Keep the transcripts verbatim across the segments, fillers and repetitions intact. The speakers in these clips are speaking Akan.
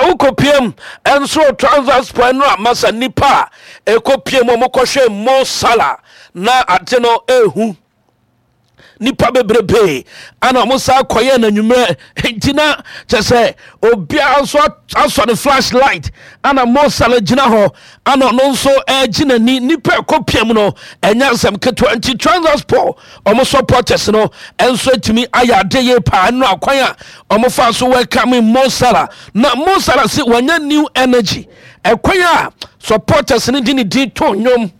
Wokɔpiem ɛnso Trabzonspor no a, masa, nipa a ɛkɔpiem, ɔmokɔhwɛ Mo Salah na ade no ɛhu nipa bebrebe ana ɔmo saa kɔyɛ n'anwummerɛ. Nti na kyɛ sɛ obiara nso asɔ ne flash light ana Mo Salah gyina hɔ ana ɔno nso ɛregye n'ani. Nipa ɛkɔ piem no ɛnyɛ asɛm ketewa. Nti Trabzonspor ɔmo supporters no ɛnso atumi ayɛ ade yie paa ɛno akwan a ɔmo fa so welcome Mo Salah. Na Mo Salah si wɔnyɛ new energy ɛkwan a supporters no de ne din to nnwom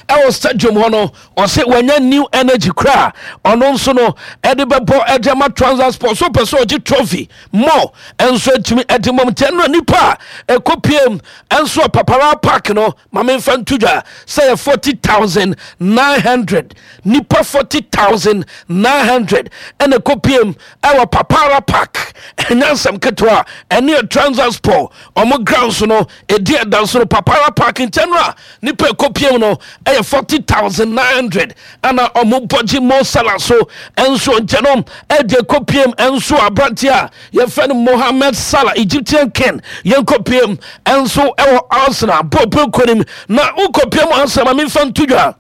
ɛwɔ stadium hɔ no, ɔsɛ wanya new energy koraa. Ɔno nso no ɛde bɛbɔ ɛde ama Trabzonspor so pɛ sɛ ɔgye trophy mɔ ɛnso atumi ɛde mɔm. Nti ɛno nipa a ɛkɔ piem ɛnso Papara Park no, maame, nfa nto dwa sɛ yɛ forty thousand nine hundred nipa, forty thousand nine hundred ɛna ɛkɔ piem ɛwɔ Papara Park. Ɛnyɛ nsɛm ketewa. Ɛne yɛ Trabzonspor ɔmo grounds no ɛdi ɛda no Papara Park. Nkyɛn no a nipa ɛkɔ piem no ɛyɛ forty thousand nine hundred ɛna ɔmo bɔgye Mo Salah so. Ɛnso nkyɛn no ɛde ɛkɔ piem ɛnso aberante a yɛfrɛ no Mohamed Salah, Egyptian king, yɛnkɔ piem ɛnso ɛwɔ Arsenal bɔɔl kɔnim. Na wokɔ piem Arsenal, ma memfa nto dwa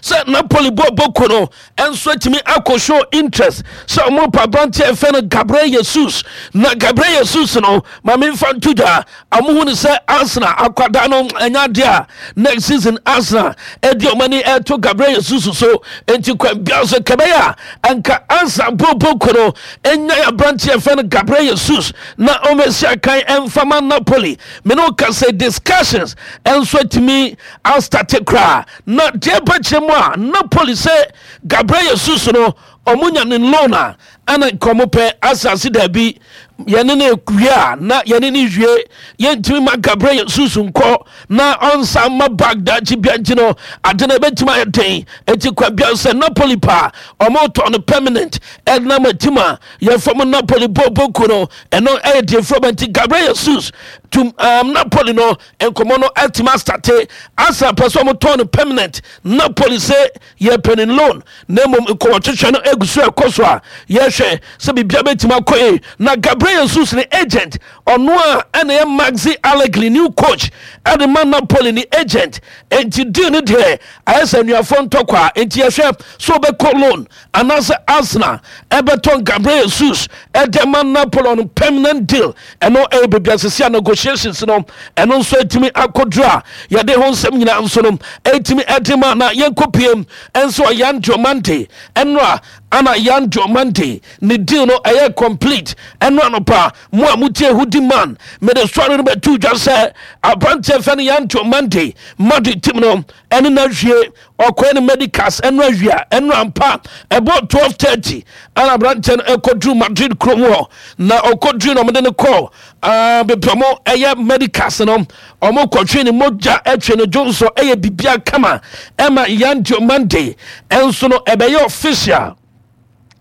sɛ Napoli bɔ boko no ɛnso atumi akɔ show interest sɛ ɔmo pa aberanteɛ ɛfɛ no Gabriel Jesus. Na Gabriel Jesus no, ma memfa nto dwa, ɔmo hu no sɛ Arsenal akwadaa no ɛnyɛ adeɛ a next season Arsenal ɛde ɔmo ani ɛto Gabriel Jesus so. Nti kwan bia so kɛbɛyɛ a ɛnka Arsenal bɔ boko no ɛnya aberanteɛ ɛfɛ no Gabriel Jesus na ɔmɛsi akan ɛmfama Napoli. Mene wo ka sɛ discussions ɛnso atumi astart koraa. Na deɛ bɛkyerɛ mu a, Napoli sɛ Gabriel Jesus no, ɔmo nya ne loan a ɛna nka ɔmo pɛ asase. Daabi, yɛne ne wie a na yɛne ne wie, yɛntumi ma Gabriel Jesus nkɔ na ɔnsa ma Baghdad bia. Nti no ade no ɛbɛtumi ayɛ den. Eti kwa bia sɛ Napoli pa ɔmo tɔ no permanent ɛnam atim a yɛfam Napoli bɔbɔku no, ɛno ɛyɛ deɛ fura. Nti Gabriel Jesus to um, Napoli no, nkɔmɔ no atumi astart. Asa pɛ sɛ ɔmo tɔn no permanent, Napoli sɛ yɛpɛ ne loan. Na mmom nkɔmɔtwetwe no egu so ɛkɔ so a yɛhwɛ sɛ biribia bɛtumi akɔ yi. Na Gabriel Jesus ne agent, ɔno a ɛna yɛ Maxi Allegri, new coach ɛde ma Napoli, ne agent. Nti deal no deɛ ayɛ sɛ anuafoɔ ntɔkwa. Nti yɛhwɛ sɛ ɔbɛkɔ loan anaasɛ Arsenal ɛbɛtɔn Gabriel Jesus ɛde ma Napoli on permanent deal. Ɛno ɛyɛ baabi asesi a negotiations no ɛno nso atumi akɔduru a yɛde ho nsɛm nyinaa nso no ɛtumi ɛde ma. Na yɛnkɔ piem ɛnso Yan Diomande. Ɛno a ana Yan Diomande ne deal no ɛyɛ complete. Ɛno anɔpa mo a motie Hudi man, mede sɔre no bɛto dwa sɛ aberanteɛ fɛ no Yan Diomande, Madrid team no ɛne no awie. Ɔkɔɛ no medicals ɛno awia. Ɛno ampa ɛbɔ twelve thirty ɛna aberanteɛ no ɛkɔduru Madrid kurom hɔ. Na ɔkɔduru no, ɔmode no kɔɔ baabi ɔmo ɛyɛ medicals no. Ɔmo kɔtwe ne mogya, ɛtwe ne dwonso, ɛyɛ bibia kama ɛma Yan Diomande. Ɛnso no ɛbɛyɛ official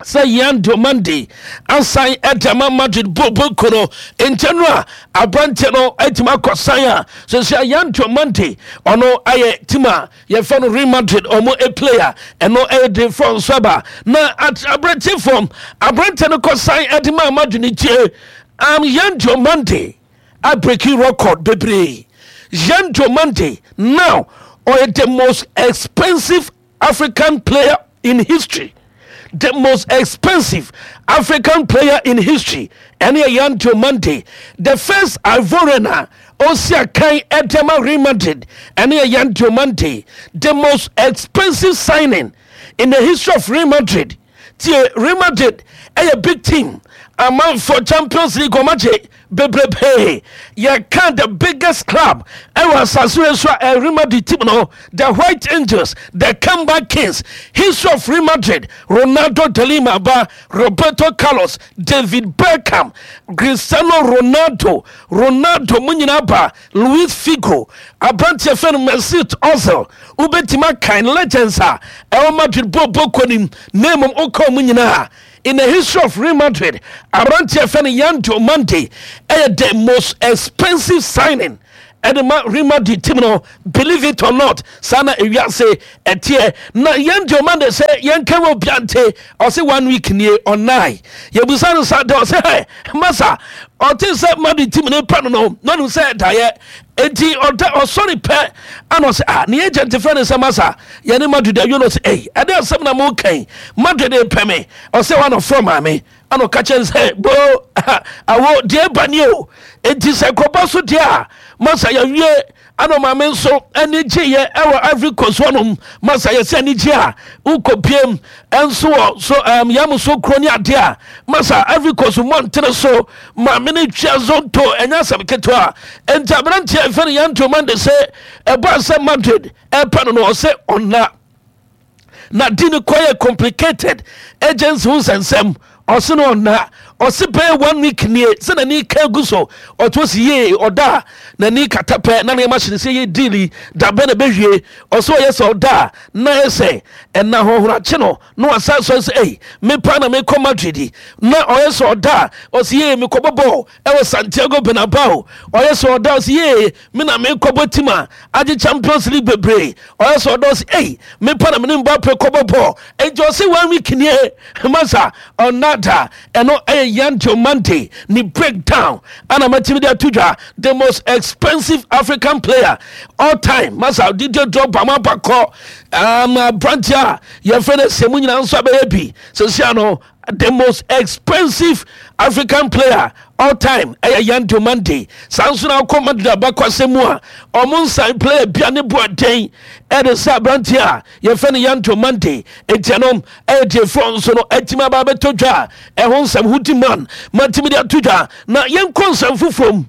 sɛ Yan Diomande asan ɛde ama Madrid bɔbɔku no. Nkyɛn no a aberanteɛ no atumi akɔ san a sɛsɛ Yan Diomande ɔno ayɛ team a yɛfɛ no Real Madrid ɔmo a player. Ɛno ɛyɛ de fɔ nso aba. Na aberanteɛ fam aberanteɛ no kɔ san ɛde ma Madrid ne tie um, Yan Diomande abreak record bebree. Yan Diomande now ɔyɛ the most expensive African player in history, the most expensive African player in history. Ɛne yɛ Yan Diomande, the first Ivorian a ɔsi akan ɛde ma Real Madrid. Ɛne yɛ Yan Diomande, the most expensive signing in the history of Real Madrid. Tie, Real Madrid ɛyɛ big team, amanfoɔ Champions League ɔmagye bebrebe. Yɛka the biggest club ɛwɔ asase wei so a, Real Madrid team no, the White Angels, the comeback kings. History of Real Madrid, Ronaldo de Lima ba, Roberto Carlos, David Beckham, Cristiano Ronaldo, Ronaldo mu nyinaa ba, Luis Figo, aberanteɛ fɛ no Mesut Ozil. Wobɛtumi akan legends a ɛwɔ Madrid bɔɔbɔ kɔnim. Na mmom woka mu nyinaa, in the history of Real Madrid, aberanteɛ fɛ no Yan Diomande ɛyɛ the most expensive signing Ɛde ma Real Madrid team no. Believe it or not, saa na ewiase ɛteɛ. Na yɛn deɛ ɔma de sɛ yɛn ka wɔ obiante, ɔsɛ one week nie ɔnan yɛbusa no sa de, ɔsɛ hɛ masa, ɔte sɛ Madrid team ne pɛ no no na ɔnim sɛ daeɛ enti ɔda ɔsɔre pɛ ana ɔsɛ, ah, ne agent fɛ ne sɛ, "Masa, yɛne Madrid awie no." Ɔsɛ, "Ei, ɛde asɛm na mo kɛn Madrid pɛ me?" Ɔsɛ wa na ɔfrɛ maame ana ɔka kyɛn sɛ bo awo deɛ ba ni o. Enti sɛ kɔba so deɛ a, masa, yɛwie. Ana maame nso ani gyeeɛ ɛwɔ Ivory Coast hɔnom. Masa, yɛsɛ ani gye a wokɔpiem ɛnso wɔ so um, yam so kuro ne adeɛ a, masa, Ivory Coast mmɔntene so maame no twia zonto, ɛnyɛ asɛm ketewa. Enti aberanteɛ ɛfɛ no Yan Diomande sɛ ɛbɔ sɛ Madrid ɛpɛ no no ɔsɛ ɔna na di no kɔyɛ complicated agency ho nsɛnsɛm. Ɔse no ɔna ɔse bɛyɛ one week nie sɛ n'ani ka gu so, ɔto si yie, ɔda a n'ani kata pɛ na nneɛma hyɛ ne sɛ yɛ deal da bɛ na bɛwie. Ɔsɛ ɔyɛ sɛ ɔda a na yɛ sɛ ɛna hohorakye no na wasa sɔ sɛ, "Ei, mepa na mekɔ Madrid." Na ɔyɛ sɛ ɔda a ɔsɛ, "Yie, mekɔbɔ bɔɔl ɛwɔ Santiago Bernabeu." Ɔyɛ sɛ ɔda a ɔsɛ, "Yie, me na mekɔbɔ team a agye Champions League bebree." Ɔyɛ sɛ ɔda ɔsɛ, "Ei, mepa na mene Mbappe kɔbɔ bɔɔl." Enti ɔsɛ one week nie, masa, ɔnada. Ɛno ɛyɛ Yan Diomande ne breakdown ana matumi de ato dwa, the most expensive African player all time. Masa, Didier Drogba ma bakɔ um, aberanteɛ a yɛfrɛ no sɛ mu nyinaa nso abɛyɛ bi sɛsia no, the most expensive African player all time ɛyɛ Yan Diomande. Saa nso na akɔ Madrid abakɔsɛm mu a, ɔmo nsan player bia ne boaden ɛde sɛ aberanteɛ a yɛfrɛ no Yan Diomande. Enti ɛno ɛyɛ deɛ frɔ nso no atumi aba abɛtɔ dwa a ɛho nsɛm ho di man matumi de ato dwa. Na yɛnkɔ nsɛm foforɔ mu,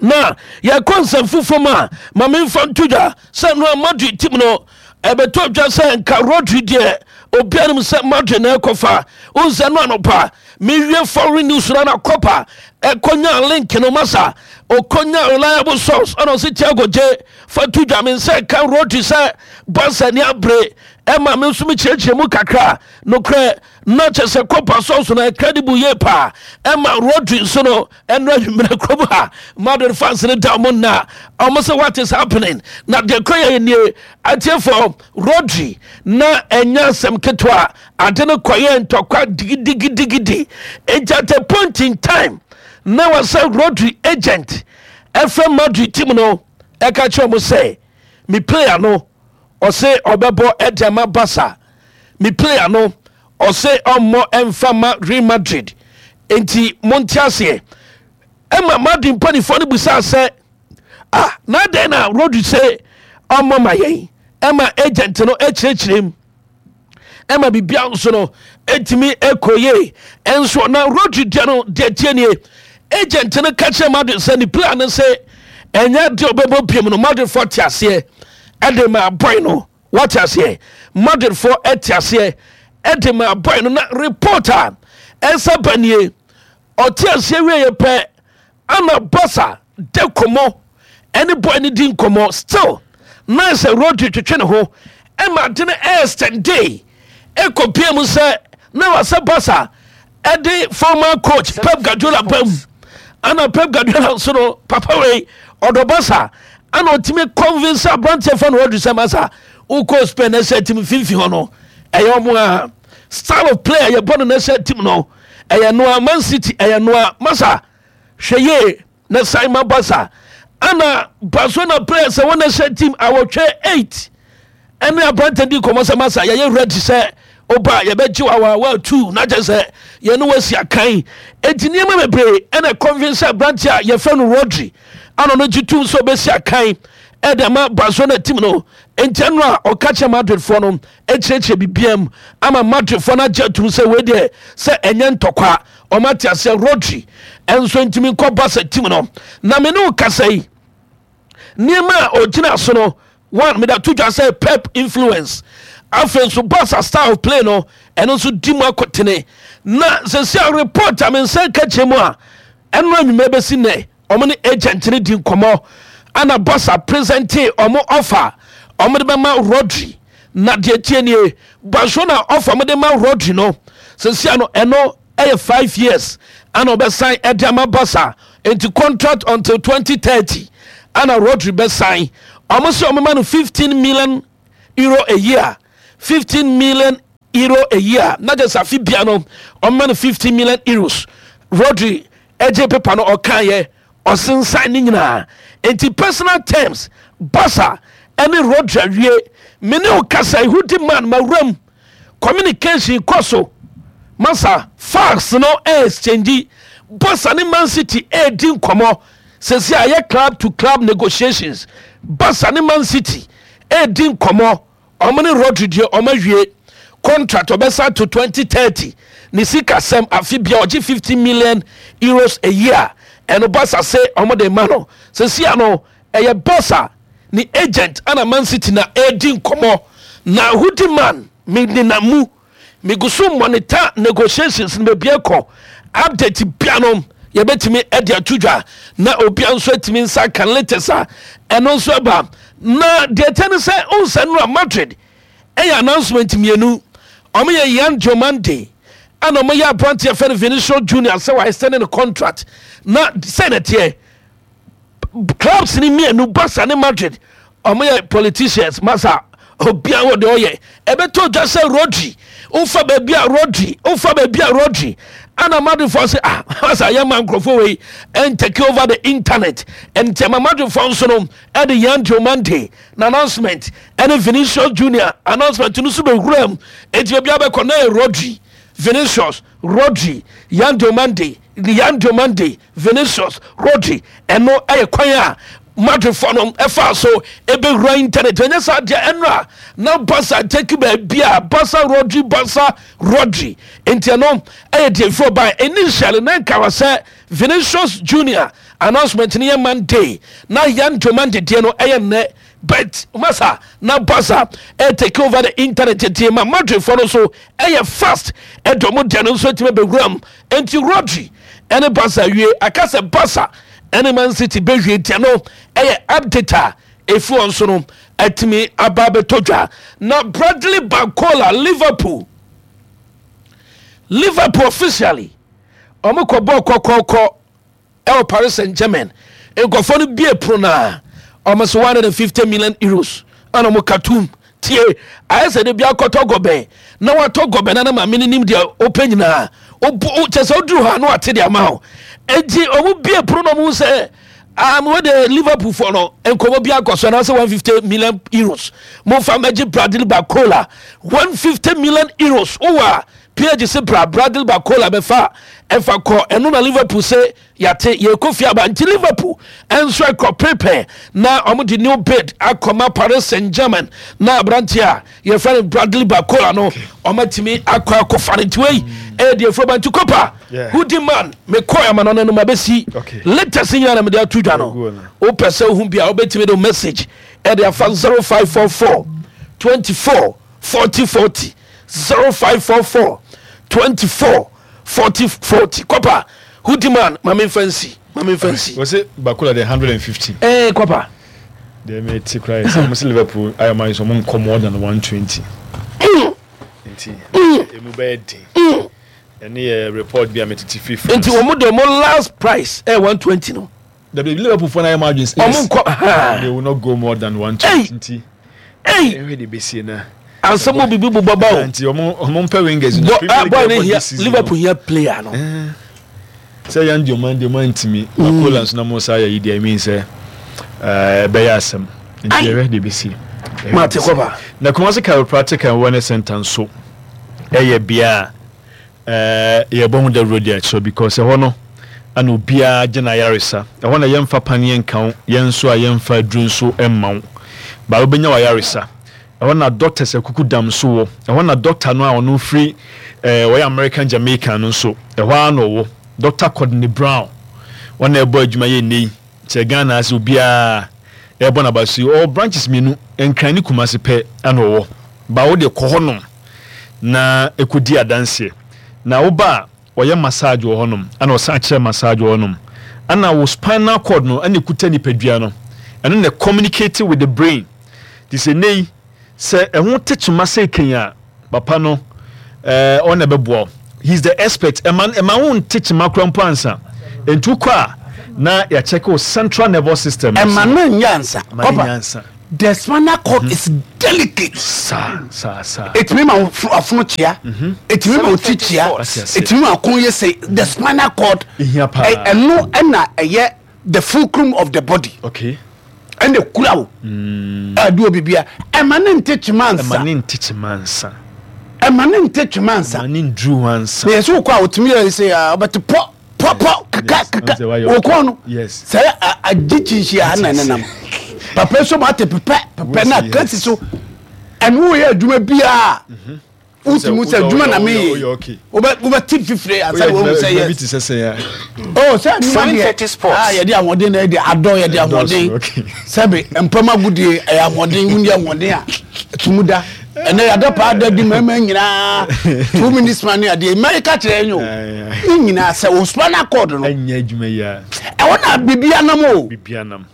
na yɛkɔ nsɛm foforɔ mu a, ma memfa nto dwa sɛ no a Madrid team no ɛbɛtɔ dwa sɛ nka Rodri deɛ, obiara nim sɛ Madrid na ɛkɔfa. Wohu sɛ no anɔpa mewie foreign news no na kɔpa ɛkɔnya link no, masa, ɔkɔnya reliable source ɛna ɔsɛ, "Tiago, gye fa to dwa me nsɛ ka Rodri sɛ Barca ni abere." Ɛma me nso mekyerɛkyerɛ mu kakra. Nokorɛ na kyɛ sɛ kɔpa source no credible yie paa. Ɛma Rodri nso no ɛno adwummerɛ kurom ha Madrid fans no da ɔmo nna, ɔmo sɛ, "What is happening?" Na deɛ kɔ yɛ nie, atiefoɔ, Rodri na ɛnyɛ asɛm ketewa. Ade no kɔyɛ ntɔkwa digidigidigidi. Enti at a point in time na wɔsɛ Rodri agent ɛfrɛ Madrid team no ɛka kyerɛ ɔmo sɛ, "Me player no ɔse ɔbɛbɔ ɛde ama Barca, me player no ɔse ɔmmɔ ɛmfa ma Real Madrid, enti monte aseɛ." Ɛma Madrid mpanimfoɔ no busaa sɛ, "Ah, na adɛn na Rodri sɛ ɔmmɔ ma yɛn?" Ɛma agent no akyerɛkyerɛ mu ɛma biribia nso no ɛtumi ɛkɔ yie. Ɛnso na Rodri deɛ no deɛ tie nie, agent no ka kyerɛ Madrid sɛ ne player no sɛ ɛnyɛ deɛ ɔbɛbɔ piem no. Madridfoɔ te aseɛ ɛde ma boy no, wate aseɛ? Madridfoɔ ɛte aseɛ ɛde ma boy no. Na report a ɛnsa ba nie, ɔte aseɛ wie yɛ pɛ ana Barca de kɔmmɔ ɛne boy no di nkɔmmɔ. Still na sɛ Rodri twetwe ne ho ɛma ade no ɛɛstɛnde ɛkɔpie mu sɛ na wasɛ Barca ɛde former coach Pep Guardiola ba mu. Ana Pep Guardiola nso no, papa wei ɔdɔ Barca, ana ɔtumi convince aberanteɛ fa no Rodri sɛ, "Masa, wokɔ Spain na sɛ team mfimfini hɔ no ɛyɛ ɔmo a style of play a yɛbɔ no national team no ɛyɛ noa Man City, ɛyɛ noa. Masa, hwɛ yie na san ma Barca." Ana Barcelona players a wɔn national team awɔtwe eight ɛne aberante di nkɔmmɔ sɛ, "Masa, yɛyɛ ready sɛ ɔba yɛbɛgye wa wa two na kyɛ sɛ yɛne wasi akan." Enti nneɛma bebree ɛna convince aberante a yɛfrɛ no Rodri ana ɔno gye tum sɛ ɔbɛsi akan ɛde ama Barcelona team no. Enti ɛno a ɔka kyerɛ Madridfoɔ no akyerɛkyerɛ biribiam mu ama Madridfoɔ no agye atum sɛ wei deɛ sɛ ɛnyɛ ntɔkwa, ɔma te aseɛ, Rodri ɛnso ntumi nkɔ Barca team no. Na me ne wo kasa yi, nneɛma a ɔgyina so no, one, meda to dwa sɛ Pep influence, afei nso Barca style of play no ɛno nso di mu akɔtene. Na sɛsi a report a me nsa ka kyerɛ mu a, ɛno anwummerɛ bɛsi nnɛ ɔmo ne agent no di nkɔmmɔ ana Barca present ɔmo offer ɔmo de bɛma Rodri. Na deɛ tie nie, Barcelona offer ɔmo de ma Rodri no sɛsi a no, ɛno ɛyɛ five years ana ɔbɛsan ɛde ama Barca, nti contract until twenty thirty. Ana Rodri bɛsan ɔmo sɛ ɔmo ma no fifteen million euro a year, fifteen million euro a year, na kyerɛ sɛ afe bia no ɔmo ma no fifteen million euros. Rodri ɛgye paper no, ɔkaeɛ, ɔsensan ne nyinaa. Nti personal terms, Barca ɛne Rodri awie. Mene wo kasa ehudi man ma wuram communication kɔ so masa, fax no exchange. Barca ne Man City ɛredi nkɔmɔ sɛsi a yɛ club to club negotiations. Barca ne Man City ɛredi nkɔmɔ. Ɔmo ne Rodri deɛ, ɔmo awie contract, ɔbɛsa to twenty thirty. Ne sika sɛm, afe bia ɔgye fifty million euros a year. Ɛno Barca se ɔmo de ma no. Sɛsi a no ɛyɛ Barca ne agent ana Man City na ɛredi nkɔmɔ. Na hudi man me nenam mu, megu so monitor negotiations no baabi ɛkɔ. Update bia no yɛbɛtumi ɛde ato dwa na obia nso atumi nsa ka latest a ɛno nso ɛba. Na deɛ ɛtɛ ne sɛ ɔnsa no a Madrid ɛyɛ announcement mmienu. Ɔmo yɛ Yan Diomande ɛna ɔmo yɛ aberanteɛ fɛ no Vinicius Junior sɛ wa extend ne contract. Na sɛ na teɛ clubs ni mmienu, Barca ne Madrid, ɔmo yɛ politicians masa. Obiara wɔ deɛ ɔyɛ. Ɛbɛtɔ dwa sɛ Rodri wofa baabi a Rodri wofa baabi a Rodri ana Madridfoɔ sɛ, ah, masa, yɛma nkurɔfoɔ wei ɛn take over the internet. Nti ɛma Madridfoɔ nso no ɛde Yan Diomande na announcement ɛne Vinicius Junior announcement no nso bɛwura mu. Enti baabi abɛkɔ na yɛ Rodri, Vinicius, Rodri, Yan Diomande, Yan Diomande, Vinicius, Rodri. Ɛno ɛyɛ kwan a Madridfoɔ no ɛfa so ɛbɛwura internet. Ɛnyɛ saa deɛ, ɛno a na Barca take baabi a Barca, Rodri, Barca, Rodri. Nti ɛno ɛyɛ deɛ ɛfiri ɔban. Initially na nka wɔ sɛ Vinicius Junior announcement no yɛ Monday na Yan Diomande deɛ no ɛyɛ nnɛ, but masa na Barca ɛ take over the internet tie ma Madridfoɔ no so ɛyɛ fast ɛde ɔmo deɛ no nso atumi bɛwura mu. Nti Rodri ɛne Barca wie, aka sɛ Barca ɛne Man City bɛwie. Deɛ no ɛyɛ update a ɛfi wɔn so no atumi aba abɛtɔ dwa. Na Bradley Barcola, Liverpool Liverpool officially ɔmo kɔ bɔɔ kɔkɔɔkɔ ɛwɔ Paris Saint Germain. Nkɔfoɔ no bie pono na ɔmo so one hundred and fifty million euros ɛna ɔmo katum tie. Ayɛ sɛ de bi akɔtɔ gɔbɛn na watɔ gɔbɛn na na maame no nim deɛ ɔpɛ nyinaa. Kyɛ sɛ woduru hɔ a na wate de ama wo. Enti ɔmo bie pono na ɔmo sɛ um, wɔde Liverpool fɔ no nkɔmɔ bi akɔ so anaasɛ one hundred and fifty million euros momfa mɛgye Bradley Barcola. one hundred and fifty million euros wowɔ a P S G se bra, Bradley Barcola bɛfa ɛfa kɔ. Ɛno na Liverpool sɛ yɛate yɛkɔ fie aba. Nti Liverpool ɛnso ɛkɔ prepare na ɔmo de new bid akɔma Paris Saint Germain na aberanteɛ a yɛfrɛ no Bradley Barcola no ɔmo atumi akɔ akɔfa no. Nti wei ɛyɛ deɛ furo ba. Nti Kopa hudi man mekɔ ama no no no mabɛsi latest nyina na mede ato dwa no. Wopɛ sɛ wohu bi a, wobɛtumi de message ɛde afa zero five four four twenty-four forty forty, zero five four four twenty-four forty forty. Kɔpa hudi man, ma memfa nsi, ma memfa nsi. Wɔsɛ Barcola de one hundred and fifty. Ɛɛ kɔpa. Deɛ mete kora yɛ sɛ ɔmo sɛ Liverpool ayɛ ɔmo ayɛ sɛ ɔmo nkɔ more than one twenty, nti emu bɛyɛ den. Ɛne yɛ report bi a metete firi France. Nti wɔn de wɔn last price ɛyɛ one twenty no. Dabi, Liverpool fo na ayɛ ɔmo adwene. Ɔmo nkɔ. They will not go more than one twenty, nti ɛhwɛ de besie na. Asɛm mo bibi bobɔ ba o. Nti ɔmo ɔmo mpɛ wingers. Bɔ boy ne hia, Liverpool hia player no. Sɛ yan di ɔman di ɔman ntumi Barcola nso na mo sa yɛ yi deɛ, mean sɛ ɛɛ bɛyɛ asɛm, nti ɛhwɛ de besie. Maate, kɔba. Na Kumasi Chiropractic and Wellness Center nso ɛyɛ bea a ɛɛ yɛbɔ ho dawuro de akyerɛ because ɛhɔ no ana obiara gye na ayaresa. Ɛhɔ na yɛmfa paneɛ nka wo, yɛn nso a yɛmfa aduru nso mma wo baa wobɛnya wayaresa. Ɛhɔ na doctors akuku dam nso wɔ ɛhɔ. Na doctor no a ɔno firi ɛɛ wɔyɛ American Jamaican no nso, ɛhɔ ara na ɔwɔ, Doctor Courtney Brown. Wɔn na ɛbɔ adwuma yɛ nne yi kyerɛ Ghana ase, obiara ɛbɔ n'aba so yi. Ɔwɔ branches mmienu, Nkran ne Kumase pɛ ɛna ɔwɔ. Ba wo de kɔ hɔnom na ɛkɔdi adanseɛ. Na woba a, ɔyɛ massage wɔ hɔnom, ɛna ɔsan kyerɛ massage wɔ hɔnom. Ɛna wo spinal cord no ɛna ekuta nipadua no, ɛno na communicate with the brain. Te sɛ nne yi sɛ ɛho te kyema sɛ kɛn a papa no ɛɛ ɔna ɛbɛboa wo. He is the expert. Ɛma ɛma wo nte kyema kora mpo ansa. Nti wokɔ a Na yɛakyɛke wo central nervous system. Ɛma no nyɛ ansa. Ɛma no Kɔpa, nyɛ ansa. the spinal cord is delicate. Saa saa saa. Ɛtumi ma wo fo- afono kyea, ɛtumi ma wo ti kyea, Ate ase. ɛtumi ma ko yɛ sɛ the spinal cord. Ehia paa. ɛ- ɛno ɛna ɛyɛ the fulcrum of the body. Okay ɛna kura wo ɛde obi bia, ɛma ne nte twema ɛma nsa. ne nte kyema nsa. Ɛma ne nte twema nsa. Ɛma ne nduru hɔ ansa. Na yɛsɛ wokɔ a, wotumi yɛ sɛ a, wobɛte pɔ pɔ pɔ kaka Yes. kaka. Ɔn sɛ wayɛ wokɔ no Yes. sɛ a- agye kyinhyia na ɛnenam papa so ma ate pepɛ pepɛ na Yes. kasi so. Ɛno woyɛ adwuma biaa, wotumi sɛ adwuma na Woyɛ- meyɛ. woyɛ okay. Wobɛ- wobɛte fifire ansa Woyɛ na wohu adwuma sɛ adwuma bi yes. te sɛ sɛn a? Oh, sɛ adwuma deɛ, seven thirty Sports. ah, yɛde ahoɔden na yɛde adɔ, yɛde ahoɔden. Okay. Sɛbe mpam agodie ɛyɛ ahoɔden. Wundi ahoɔden a tumu da ɛnɛ yɛada paa da di mmarima nyinaa two minutes man ne adeɛ mmaa ka kyerɛ yɛn o. Aye, aye. Ne nyinaa sɛ o spinal cord no Ɛnyɛ adwuma yi a, ɛwɔ na biribi anam o. Biribi anam.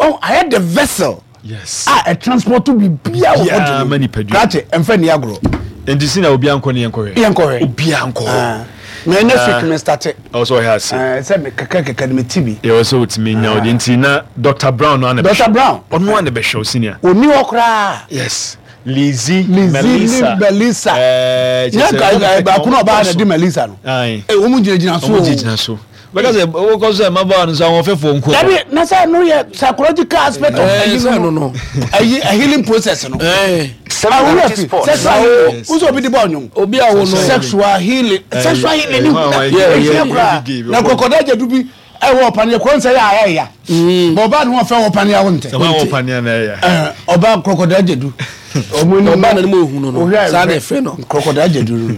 Ɔ ayɛ the vessel Yes. a ɛ transport biribiara wɔ Biribiara body ma no. nipadua. Krakye, ɛmfɛ ni agorɔ. Nti si na obiara nkɔ ne yɛnkɔhwɛ. Yɛnkɔhwɛ. Obiara nkɔ hɔ. Ah. Mɛ next week me start. Ɛwɔ sɛ ɔhɛ ase. Ɛɛ, sɛ me kɛkɛ kɛkɛ no me ti bi. Ɛwɔ sɛ wotumi nya wode nti na Doctor Brown no ana. Doctor Brown. Ɔno ana bɛhwɛ wo, senior. Oni hɔ koraa. Yes, Lizzie. Lizzie. Melissa. Ne Melissa. Ɛɛ, kyerɛ nyɛ sɛ ka ɔmo baako na ɔbaa na so. di Melissa no. Aye. Ee, wɔn mu gyinagyina so Ɔmo o. gyinagyina so bɛka sɛ wokɔ so sɛ mmabaawa no nso ahoɔfɛfoɔ nko. Dabi, na sɛ no yɛ psychological aspect of Eh, ɛyi sɛ no no no. Ɛyi a healing process no. Eh, Awura seven thirty fi Sports. sexual healing wosɔ obi di bɔ ɔnyom. Obi a wo no. Sexual healing, sexual healing ni eh, hu yeah, yeah, ɛhia koraa. yeah, Na kɔkɔda gya du bi ɛwɔ ɔpaneɛ kɔ nsɛ yɛ a ɛyɛ ya bɔn ɔbaa ni wɔn fɛ wɔ paneɛ awo ntɛ. Sɛ wɔn a wɔpaneɛ na ɛyɛ. Ɛɛ, ɔbaa kɔkɔda gya du ɔmo ni. Ɔbaa na ne mu ehu no no. Saa na ɛfrɛ no. Kɔkɔda gya du no.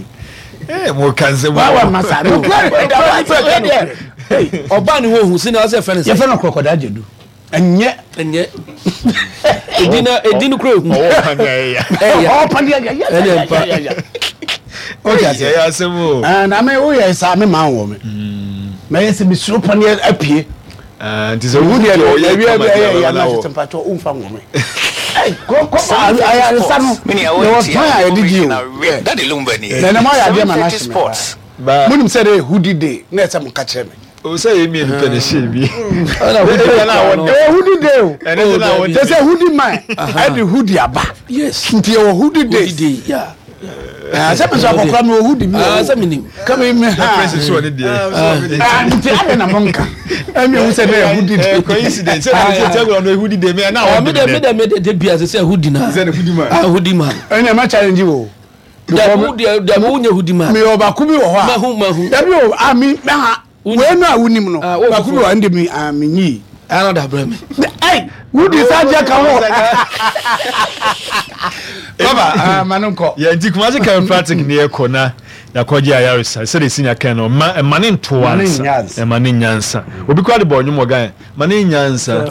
Ee, mo ka nsɛm. Wa wa masa no Ɔbaa ne ho ehu sini ɔsɛ ɛfrɛ no sɛ. Yɛfɛ no kɔkɔda gya du, ɛnyɛ. Ɛnyɛ. Edi na edi no kura ehu. Ɔwɔ paneɛ ɛyɛ. Ɛyɛ. Ɔpaneɛ yɛ yɛ Ɛnyɛ mpa. yɛ yɛ o ti ase. Ɛyɛ asɛm o. Ɛɛ, na me woyɛ saa me maa wɔ me mɛ yɛ sɛ mesuro paneɛ apue. Ah, nti sɛ Wo deɛ no ɔyɛ yɛwie kama bi deɛ ɛyɛ yɛ ɔbɛma na na wɔ. tete mpatwɔ womfa nwɔ me. Ɛy, kɔ kɔ ayaresa no Mini yɛwɔ kwan a yɛde di o. Daddy Lumba ni. Na ɛnɛ mo ayɛ adeɛ ma no seven thirty ahye me. Sports. Ba monim sɛ de hoodie day na ɛsɛ mo ka kyerɛ me. O sɛ yɛ mmienu pɛ na ɛhyɛ bi. Ɛna hoodie Ɛna kura no. Ɛwɔ hoodie day o. Ɛne sɛ na Oh, wɔde kyɛ sɛ hoodie man ɛde hoodie aba. Yes. Nti yɛwɔ hoodie Hoodie days. day. Yeah. Ɛɛ, sɛ me sɛ akɔkora mi wɔ hoodie bi wɔ Ah, hɔ. sɛ menim. Kama mi ha. Prince so ɔne deɛ. Ah, nti ade na mo nka ɛmi ehu sɛ ne yɛ hoodie Eh, day. coincidence sɛ na sɛ tɛgorɔ no ehudi de mi ɛna Ah, wɔn mi de dɛ mi mi dɛ. dɛ mi de de bia sɛ sɛ hoodie na. Sɛ ne hoodie man. Ah, hoodie man. Ɛnna ɛma challenge wo. Dabi deɛ dabi wonyɛ hoodie man. Mi wɔ baako bi wɔ hɔ a. Mahu mahu. Dabi o, a mi ha wei no a wonim no. Ah, wo baako bi wɔ hɔ, ɛnde mi a mi nyi. Ana da brɛ mi. Ɛy, wudi sa jɛ ka ho baba, ah, ma no nkɔ. Yɛ nti Kumasi Chiropractic ne yɛkɔ na yɛakɔgye ayaresa sɛde si nya kan no, ma ɛma ne nto Ma ne ansa. nya ansa. Ɛma ne nya nsa. Obi kora de bɔ ɔnwom wɔ Ghana, ma ne nya nsa.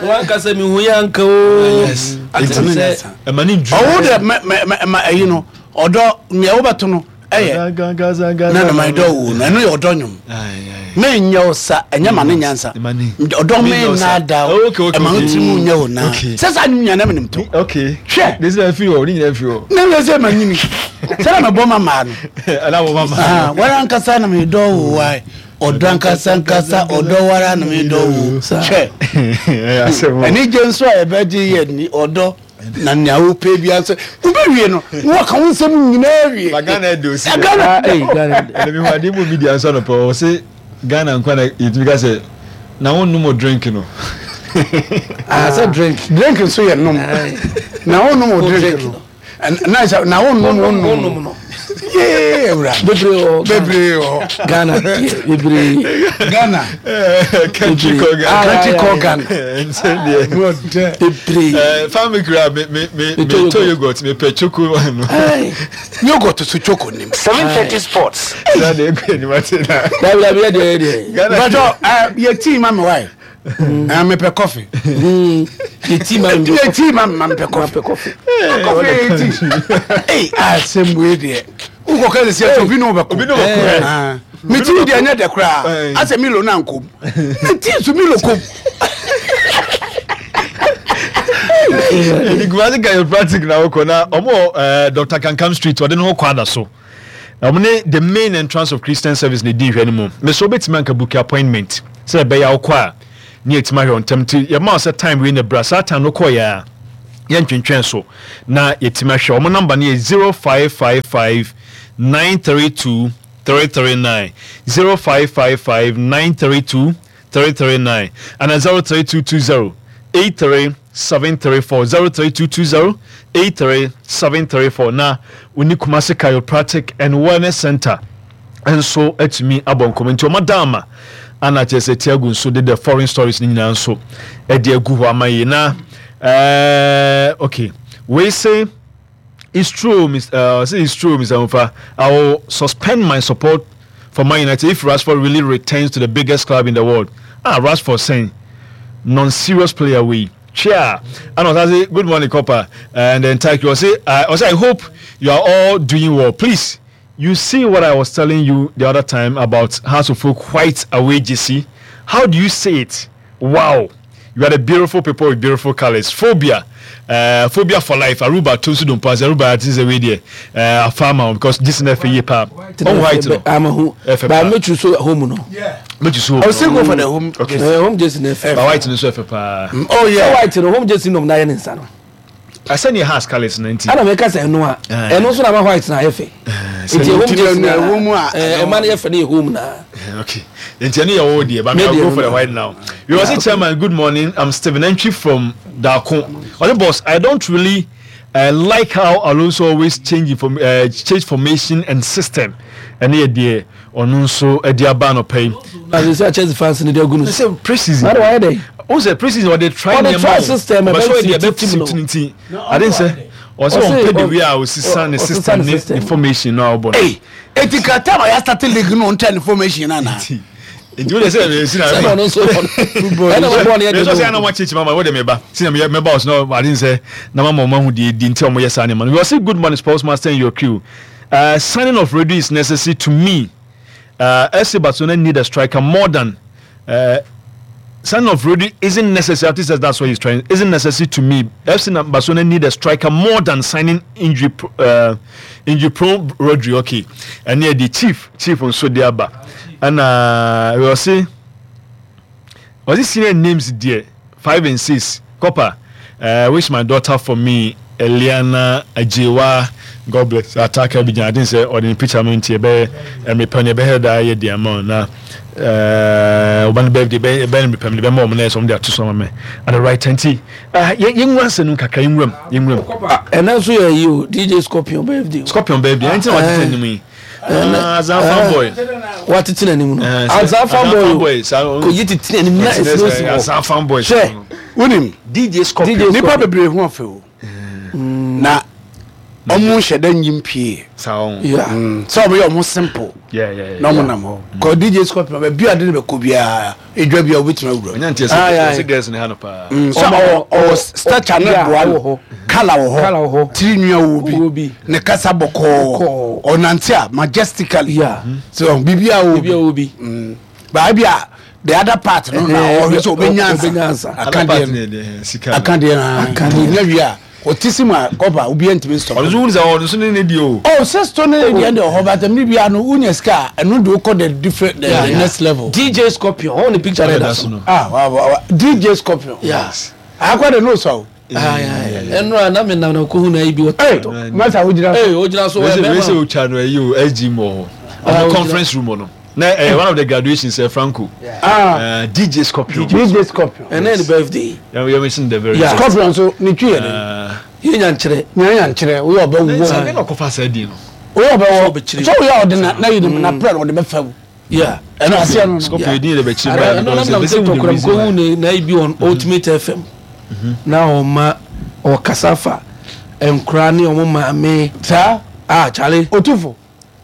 Wankasa mi hu yɛ anka o. Yes. Ate Nti- sɛ ɛma ne nduru. Ɔwo de mɛ mɛ mɛ ma ɛyi no ɔdɔ nea wobɛto no ɛyɛ na na ma ɛdɔ wo no, ɛno yɛ ɔdɔ nwom. Menyɛ wo sa ɛnyɛ ma ne nyansa. Ma ne- Ɔdɔ me Menyɛ wo sa. nada. Okay, okay, ɛma wo okay. tiri mu nyɛ wo na Okay. sɛ saa nwom nyina menim to. Okay. Hwɛ. De sɛ firi hɔ ne nyinaa firi hɔ. Na wɛ sɛ manyini sɛ na mebɔ ma maa no. Ɛna wɔ mama. Ah, wara ankasa na medɔ wo wae, ɔdɔ ankasa ankasa, ɔdɔ wara na medɔ wo. Hwɛ. Ɛyɛ asɛm o. Ɛne gye nso a yɛbɛgye yɛ ni ɔdɔ na nea wopɛ bia nso wobɛwie no na wɔka wo nsɛm nyinaa wie. Ba Ghana ɛde osi. Ɛ, Ghana. Ah, ɛy, Ghana. Ɛna mi hu ade mu media nso anɔpɛ wɔ sɛ Ghana nkwa na yɛtumi ka sɛ na wɔn num o drink no. Ah, sɛ drink. Drink nso yɛ nom na wonom wo drink drink no. Ɛn- na sɛ na wonom Wonom wonom no. Yee, awura. Bebree wɔ Ghana. Bebree wɔ hɔ. Ghana deɛ bebree. Ghana. Country called Ah, Ghana. Country yeah, called yeah. Ghana. Nsɛm deɛ. Wɔdɛ. Bebree. Ɛɛ family kura me me me me Metɔ tɔ yogurt, me pɛ choco no. Ɛy. Yogurt so choco nim. seven thirty Sports. Saa de ekɔ anim ate na. Dabi dabi, yɛ deɛ yɛ deɛ. Ghana. Bàtɔ yɛ tea ma mi wae, mepɛ coffee. Yɛ tea ma mi. Yɛ tea ma mi ma mepɛ coffee. Mapɛ coffee. Coffee yɛ tea. Ee, asɛm wei deɛ wokɔ kɛ sɛ sɛ obi ne wobɛkɔ. Obi ne wobɛkɔ. Ah. Me tea deɛ ɛnyɛ dɛ koraa. Eh. Asɛ Milo na nkom me tea so Milo kom. Ɛni Kumasi Chiropractic na wokɔ na ɔmo wɔ ɛɛ Doctor Kankam Street, ɔde ne ho kɔ ada so. Ɔmo ne the main entrance of Christian Service ne di nhwɛ no mu. Mɛ so wobɛtumi anka book appointment. Sɛ ɛbɛyɛ a wokɔ a ne yɛtumi ahwɛ wo ntɛm. Nti yɛma wo sɛ time wei na bra. Saa time no kɔeɛ a, yɛntwentwɛn so na yɛtumi ahwɛ. Wɔn number no yɛ zero five five five nine three two three three nine, zero five five five nine three two three three nine, ana zero three two two zero eight three seven three four, zero three two two zero eight three seven three four. Na wo ne Kumasi Chiropractic and Wellness Center nso atumi abɔ nkɔmmɔ. Nti wɔn ada ama ana kyerɛ sɛ Tiago nso de the foreign stories no nyinaa nso de agu hɔ ama yi na ɛɛ okay, wei se it's true, Mister Uh, say it's true, Mister Mufa. I will suspend my support for Man United if Rashford really returns to the biggest club in the world. Ah, Rashford saying non-serious player we. Chair. And I say good morning, Copper, and then thank you. I say, uh, I say I hope you are all doing well. Please, you see what I was telling you the other time about House of Folk white away G C. How do you say it? Wow. You are the beautiful people with beautiful colors. Phobia. Uh, phobia for life. Aruba Tosu don't pass. Aruba I think way there. Uh, farmer because this is F A pa. Oh, white no. I'm a who. But I make you so home no. Yeah. Make you so. I still go for the home. Okay. Uh, home just in F A. But white no so F A pa. Oh yeah. White no home just in no na yen no. I send your house colors ninety. I don't make us no. And also na white na F A. It's a home just na home. Eh man F A home na. Okay. Nti any your dear, but I'll go for the white now. You was say, Chairman, good morning. I'm Stephen Entry from Darko. Oh, boss, I don't really uh, like how Alonso always change inform, uh, change formation and system. And here, dear, on so dear ban or pay. As you say, Chelsea fans in the good. Say preseason. Why are they? Oh, say preseason or they try the try system. But so they are. I didn't say. Also, on pay the way I was the system information now. But hey, it's a time I started league no information na. Nti wo de sɛ si na sɛ no so football no so sɛ na wa chichi mama wo de me ba si na me ba us no I didn't say na mama mo hu de di nti o mo yes ani man. We say good morning sports master and your crew. Uh, signing of Rodri is necessary to me. Uh, F C Barcelona need a striker more than uh, signing of Rodri isn't necessary. He says that's what he's trying. Isn't necessary to me. F C Barcelona need a striker more than signing injury uh, injury prone Rodri. Okay, and here the chief chief on Sodiaba. And uh, we will see. Was it senior names there? Five and six. Copper. Uh, wish my daughter for me, Eliana Ajewa. God bless. Attack Abidjan. I didn't say or the picture me be and me penny be da ye the amount na. Uh, one birthday be be me penny be more money some there to some me. And the right twenty. Uh, ye ye nwa se nu kakra ye nwam ye nwam. And also you D J Scorpion birthday. Scorpion birthday. Anything what you tell me. Ah, Azan boy. What it in no? Azan boy. Ko yi titi ni na esi Azan fan boy. She, unim D J Scorpion. Nipa bebre hu afe o. Na omo hye nyim pie. Sa Yeah. So omo ye omo simple. Yeah, yeah, yeah. Na omo nam ho. Ko D J Scorpion ba bia de ne be ko bia. Edwa bia obetuma wura. Onya ntie se girls ne ha no pa. So o o stature ne boa no. Kala wo ho. Tiri nua wo bi. Ne kasa bɔkɔɔ. Ɔnante a majestically. Yeah. So bibia wo bi. Bibia wo bi. Ba bia the other part no na o so obenyansa. Aka de. Aka de na. Aka de na wi a. Otisima kopa obi ntimi stop. Ozo wunza ozo ne ne di o. Oh, sister ne di ende ho but me bia no unya sika eno de okọ the different the, yeah, the yeah. next level. D J Scorpion on the picture there. Ah, wow, wow. D J Scorpion. Yes. Akwa de no so. Ah, yeah, yeah. Eno na me na na ko hu na ibi wo. Hey, master ojira. Hey, ojira so we me. We say o cha no e o S G mo. On conference room no. Na eh, one of the graduations eh, Franco. Yeah. Ah. Uh, D J Scorpion. D J Scorpion. And then the birthday. Yeah, we are missing the very. Yeah. Scorpion so ni twi ye de. Ye nya nkyere. Nya nkyere. We oba wo. Say na kofa say di no. We oba wo. So we are na na yi na prayer wo de be fa. Yeah. And I say no. Scorpion di de be chiri ba. No, no, no, no, ko hu na ibi on Ultimate F M. Na o ma o kasafa enkra ne o ma me. Sa ah Charlie. Otufo.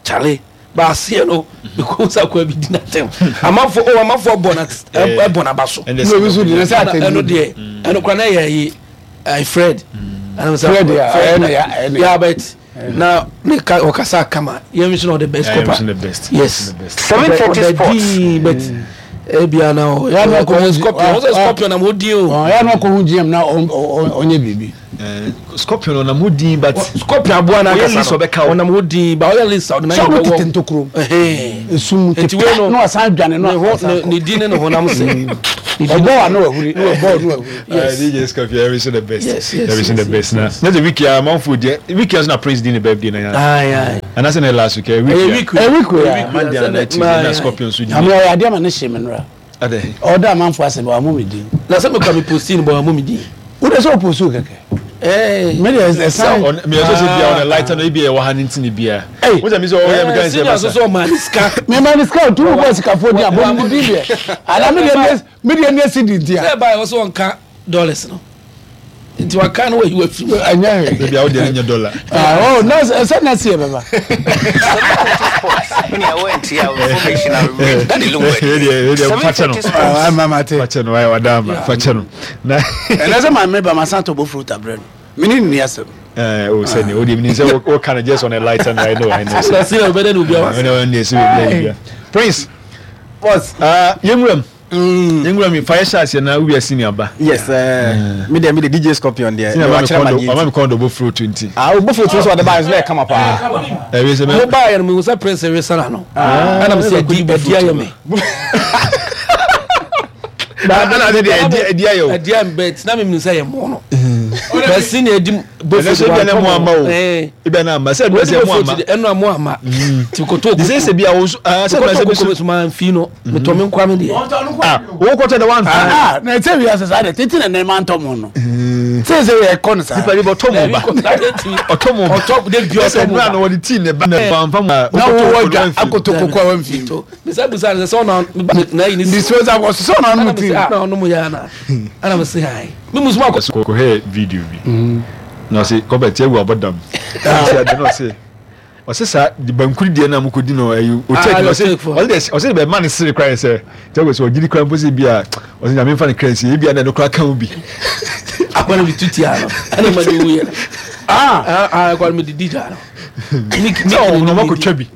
Charlie. Ba se no because akwa bi di na tem amafo o amafo bona e bona baso no bi so di na sa eno de eno kra na ye eh Fred and Fred yeah yeah but na me ka o kasa kama ye mi so the best copper yes seven thirty sports but e bia na o ya no ko Scorpion o Scorpion na mo di o ya no ko hu G M na onye bibi Eh, Scorpion ɔnam hɔ din, but Scorpion aboa no ɔyɛ ankasa list no ɔbɛka wo. Ɔnam hɔ din ba, ɔyɛ list a ɔde Sɛ ɔmo tete n'ayɛ ntokuro bɛwɔ esum Nti te wei no, na wasan dwane no ne ho asan ne kɔ. ne din ne ne honam sɛ ne din. Ɔbɔ wa na wahuri, na wabɔ na wahuri. Yes. D J Scorpion, every the best. Yes, yes, Every yes, the best. Na na the week ya man food yeah. Week ya na Prince di ne birthday na ya. Aye, aye. And that's in the last week. Eh, week Ɛyɛ ya. week. Ɛ week wei a. Monday and night Tuesday na Scorpion so di. Ame ɔyɛ adeɛ ma ne hye me nora. Ade. Ɔda amanfo ase bɛ wamɔ me din. Na sɛ mekura me post no bɔ ɔmo me din. Wode sɛ ɔpost kɛkɛ. Ɛɛ. Me deɛ ɛsan. On me so say bia on the lighter no bia wɔ ha ne ntini bia. Hey. Wo sɛ me so oh yeah, me kan say Senior nso masa. sɛ ɔmaa ne sika. Mema ne sika otu bɔ sikafoɔ di abɔ me din deɛ ana me deɛ me deɛ ne si di nti a. Sɛ ɛbaa yɛ wɔ sɛ ɔnka dollars no nti waka no wayi wafi mu. Ɛnyɛ hwee. Bia wo de ne dollar. Ah, oh, na ɛsɛ na si yɛ bɛba. Sports. Many I went here information I read. That is Eh, seven fakyɛ no. thirty sports. Ah, mama te. Fakyɛ no, why wadama. Fakyɛ no. Na ɛnɛ sɛ maame ba ma san tɔ bɔ fruit abrɛ no mene nni asɛm. Eh, oh sɛ ne o de mi sɛ o kind of just on a lighter no, I know, I know. Na senior bɛdɛ ne obi awa. I know ne sɛ bia bia. Prince. Boss. Ah, yɛnwuram. Yɛnwuram fa yɛ hyɛ aseɛ na wowie senior ba. Yes, uh, me deɛ me de D J Scorpion deɛ. Senior me ma me wakyerɛ ma kɔn deɛ do, ɔma nti. me kɔn do bɔ fruit nti. Ah, o bofo tun so ɔde ba nso na ɛkama paa. Ɛwi sɛ mo mɛ baa yɛ no, mehu sɛ Prince resana no, ɛna mesɛ ɛdi ɛdi ayɛ me. Ɛna ade deɛ ɛdi ɛdi ayɛ o. Ɛdi ayɛ me bɛt na memenu sɛ yɛ mo no bɛ senior ɛdi Ɛnɛ sɛ ebi na mo ama o. Ebi na ama sɛ ɛdu sɛ mo ama. Ɛnu a mo ama nti kotɔ De sɛ sɛ bi a wo so ah sɛ kotɔ sɛ bi koko so mi so ma nfi no metɔ me nkwa me deɛ. Ah, wo kɔtɔ de one fi. Ah, na ɛsɛ wiase saa deɛ tete na nneɛma ntɔ mo no sɛ sɛ yɛkɔ no saa. Nipa de bɔ tɔ mo ba. Ɔtɔ mo ba. Ɔtɔ de bi Ɛsɛ ɔtɔ mo nura na ba. wɔde tii ne ba ne ba nfa mu. Na wowɔ dwa akoto koko a wamfi. To bisa bisa ne sɛ ɔna na yi ne si. Disposal wɔ so sɛ ɔna ɔnom ɛna tii. mesɛ ah, na ɔnom yɛ ana ɛna mesɛ ayi me musu ma kɔ. Kɔhɛ video bi na ɔse kɔbɛ tiɛ wu abɔdam ɔse ade na ɔse ɔse saa de bankuri deɛ na mokɔdi no ɛyi ɔkyɛ Ah, ɔse ɔtake for. ɔse deɛ ɔse bɛ ma ne sere kora yɛ sɛ tiɛ wu sɛ ɔgyiri kora mpo sɛ bi a ɔse Nyame nfa ne kra nsie ebi a na ɛno kora ka ho bi. Akɔ na mi tu tia no ɛna ma de wu yɛ no. Ah. Ah ah, akɔ na mi didi gya no. Sɛ ɔmo na ɔmo akɔtwa bi,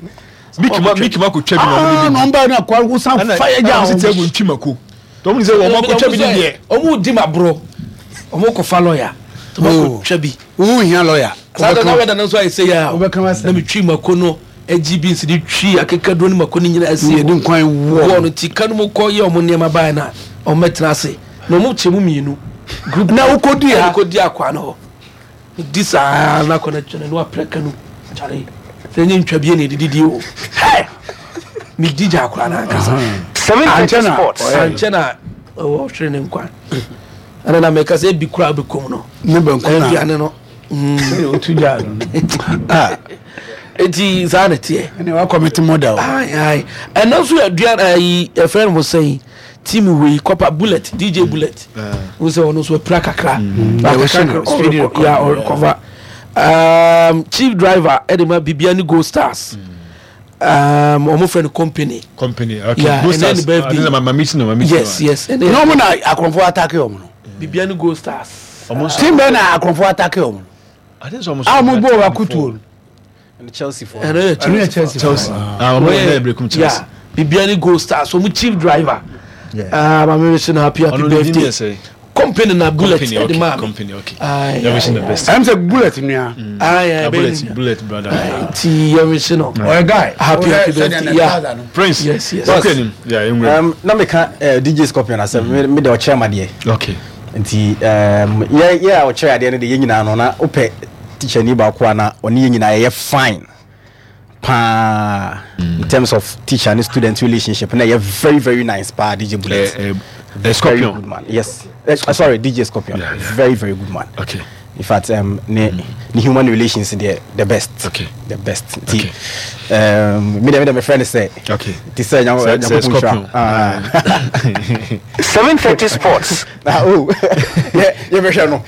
miki ma miki ma akɔtwa bi na ɔmo Ah, de na bi ɔmba na akɔ wosan di ɛna fa yɛ gya. ɛna ɔse tiɛ wu ntwi mako tɔm ne sɛ ɔmo akɔtwa bi ne deɛ. Ɔmo di ma borɔ, ɔmo kɔ fa lɔya ɔmo akɔ twa bi. Wo hia lɔya. Saa da na wɛda no nso ayɛ sɛ yɛ a Wobɛka w'asɛm. na metwi mako no agyi bi nsi de twi akekaduro ne mako no nyinaa si Yɛde nkwan wɔ wɔ no ti ka no mu kɔ yɛ ɔmo nneɛma baeɛ na ɔmo mɛtena ase na ɔmo kyɛ mu mmienu group. Na wokɔdi ha? Ɛna kɔdi akwa no hɔ di saa na akɔ no twene na waprɛ ka no kyare sɛ ɛnyɛ ntwa bie na ɛdididi o. Hɛ! Medi gya akora no ankasa. Seven thirty Ankyɛ na sports. Ankyɛ na ɔwɔ hwere ne nkwa ɛna na mɛka sɛ ebi kora bɛkɔm no ne banku na aduane no. Otu gya no. Ah, eti saa na teɛ. Ɛne wakɔmete mɔda o. Ayi ayi, ɛno nso yɛ aduane ayi ɛfrɛ no mo sɛn team wei kɔpa Bullet, D J Bullet n sɛ ɔno nso apira kakra. Yeah, wɔhyɛ no speedy recovery. Ya ɔrecover. um, chief driver ɛde ma Bibiani Gold Stars, um, ɔmo frɛ no Company. Company, okay. Yeah, Gold and then Stars. the birthday. Ah, this is my my meeting no, my meeting. Yes yes ɛnɛ Na ɔmo na akorɔmfoɔ attack ɔmo no. Bibiani Gold Stars. Ɔmo nso Team bɛɛ na akorɔmfoɔ attack ɔmo no. I think so ɔmo A ɔmo bɔ ɔmo akutuo no. Chelsea for. Ɛno yɛ Ɛno yɛ Chelsea. Chelsea. Chelsea. Ah, ɔmo yɛ Berekum Chelsea. Yeah, Bibiani Gold Stars ɔmo chief driver. Yeah. Ah, maame wish no happy happy Ɔno ne din birthday. yɛ sɛ Company na Bullet Company, ɛde okay. maa mi. Company, okay. Aye, Yɛ wishing the aye. best. Ɛm sɛ Bullet nua. Aye, aye, Ah, Bullet, bɛyɛ Bullet brother. nti yɛ wish no Ɔyɛ guy. Happy, happy birthday, yeah. Prince. Yes, yes. Okay, nim. Yeah, yɛnwura. Um, na meka uh, D J Scorpion asɛm, me me de ɔkyerɛ ma deɛ. Okay. Nti um, yɛ yɛ a ɔkyerɛ adeɛ no de yɛn nyinaa no na wopɛ teacher ni baako a na ɔne yɛn nyinaa yɛyɛ fine paa in terms of teacher and student relationship, na yɛ very very nice paa, D J Bullet. Eh, eh, eh, Very Scorpion. good man, yes. uh, sorry D J Scorpion. Yeah, yeah. Very very good man. Okay. In fact, um, ne ne human relations deɛ, the best. Okay. The best. Nti Okay. um, me deɛ me deɛ me friend sɛ Okay. ti sɛ Sɛ- sɛ Nyankopɔn Scorpion. nhyira. Ah. Seven thirty sports. Ah, oh, yɛ yɛbɛhwɛ no.